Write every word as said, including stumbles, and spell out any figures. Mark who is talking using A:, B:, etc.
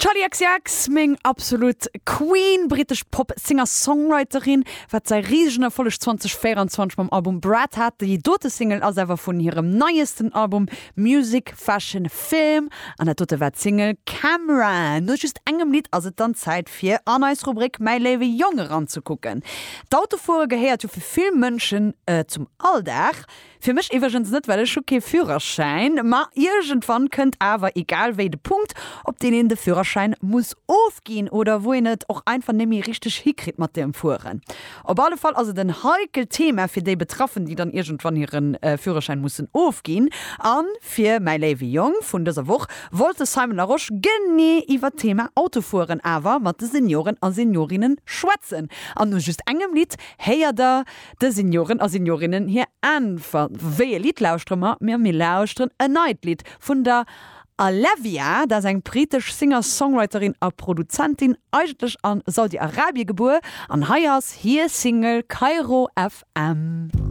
A: Charli XCX, meng absolut Queen, britesch Pop-Singer-Songwriterin, wat säi risegen Erfolleg zweedausendvéierenzwanzeg mam Album Brat hat. Déi dote Single ass awer vun hirem neiesten Album Music, Fashion, Film an dat dote war d'Single Camera. No just engem Lidd ass et dann Zäit fir an eis Rubrik Mäi léiwe Jong eranzekucken. D'Autofuere gehéiert jo fir vill Mënschen zum Alldag. Fir mech iwwregens net, well ech hu kee Führerschäin. Ma iergendwann kënnt awer egal wéi de Punkt, op deen een de Führerschäin muss ofginn oder wou een et och einfach net méi richteg hikritt mat dem Fueren. Op alle Fall ass et en heikelt Thema fir déi Betraffen, déi dann iergendwann hire Führerschäin mussen ofginn. A fir Mäi léiwe Jong vun dëser Woch wollt de Simon Larosche genee iwwer d'Thema Autofueren awer mat de Senioren a Seniorinnen schwätzen. An no just engem Lidd héiert der de Senioren a Seniorinnen hir Äntwert. Wéi e Lidd lauschtere mer? Mir mir lauschteren en neit Lidd vun der Alevia, dat ass eng britesch Singer-Songwriterin a Produzentin, eigentlech a Saudi-Arabie gebuer, an hei ass hir Single Cairo FM.